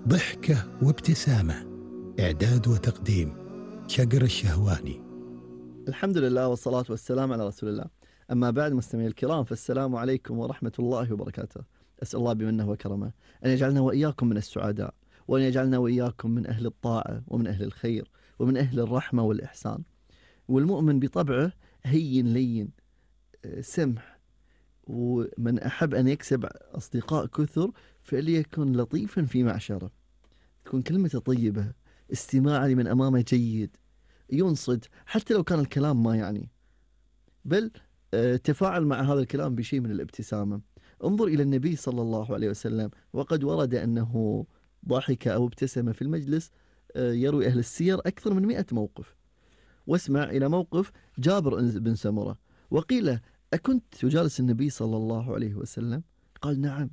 ضحكة وابتسامة. إعداد وتقديم شقر الشهواني. الحمد لله والصلاة والسلام على رسول الله. أما بعد، مستمعي الكرام، فالسلام عليكم ورحمة الله وبركاته. أسأل الله بمنه وكرمه أن يجعلنا وإياكم من السعداء، وأن يجعلنا وإياكم من أهل الطاعة ومن أهل الخير ومن أهل الرحمة والإحسان. والمؤمن بطبعه هين لين سمح، ومن أحب أن يكسب أصدقاء كثر فليكن لطيفا في معشره، تكون كلمته طيبة، استماع لمن أمامه جيد، ينصت حتى لو كان الكلام ما يعني، بل تفاعل مع هذا الكلام بشيء من الابتسامة. انظر إلى النبي صلى الله عليه وسلم، وقد ورد أنه ضحك أو ابتسم في المجلس، يروي أهل السير أكثر من 100 موقف. واسمع إلى موقف جابر بن سمرة، وقيل: أكنت تجالس النبي صلى الله عليه وسلم؟ قال: نعم،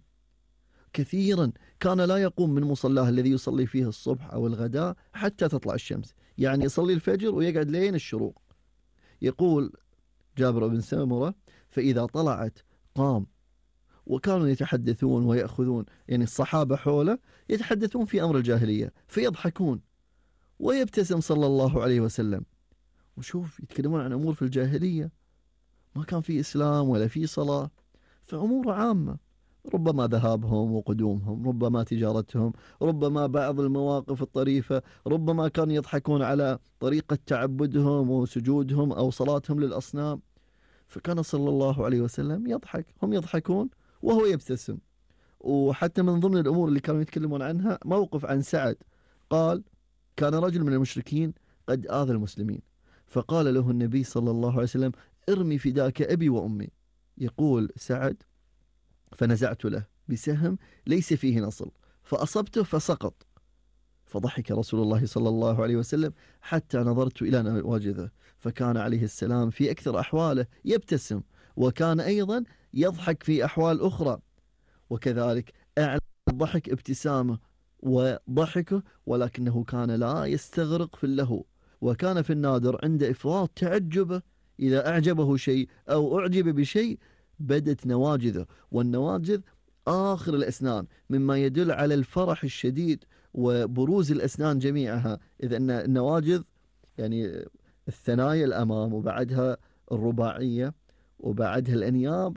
كثيرا كان لا يقوم من مصلاه الذي يصلي فيه الصبح أو الغداء حتى تطلع الشمس، يعني يصلي الفجر ويقعد لين الشروق. يقول جابر بن سمرة: فإذا طلعت قام، وكانوا يتحدثون ويأخذون، يعني الصحابة حوله يتحدثون في أمر الجاهلية فيضحكون، ويبتسم صلى الله عليه وسلم. وشوف، يتكلمون عن أمور في الجاهلية، ما كان في إسلام ولا في صلاة، فأمور عامة، ربما ذهابهم وقدومهم، ربما تجارتهم، ربما بعض المواقف الطريفة، ربما كانوا يضحكون على طريقة تعبدهم وسجودهم أو صلاتهم للأصنام. فكان صلى الله عليه وسلم يضحك، هم يضحكون وهو يبتسم. وحتى من ضمن الأمور اللي كانوا يتكلمون عنها موقف عن سعد، قال: كان رجل من المشركين قد آذى المسلمين، فقال له النبي صلى الله عليه وسلم: ارمي فداك أبي وأمي. يقول سعد: فنزعت له بسهم ليس فيه نصل فأصبته فسقط، فضحك رسول الله صلى الله عليه وسلم حتى نظرت إلى نواجذه، فكان عليه السلام في أكثر أحواله يبتسم، وكان أيضا يضحك في أحوال أخرى، وكذلك أعلى الضحك ابتسامه وضحكه، ولكنه كان لا يستغرق في اللهو، وكان في النادر عند إفراط تعجبه إذا أعجبه شيء أو أعجب بشيء بدت نواجذه، والنواجذ آخر الأسنان، مما يدل على الفرح الشديد وبروز الأسنان جميعها، إذا أن النواجذ يعني الثنايا الأمام، وبعدها الرباعية، وبعدها الأنياب،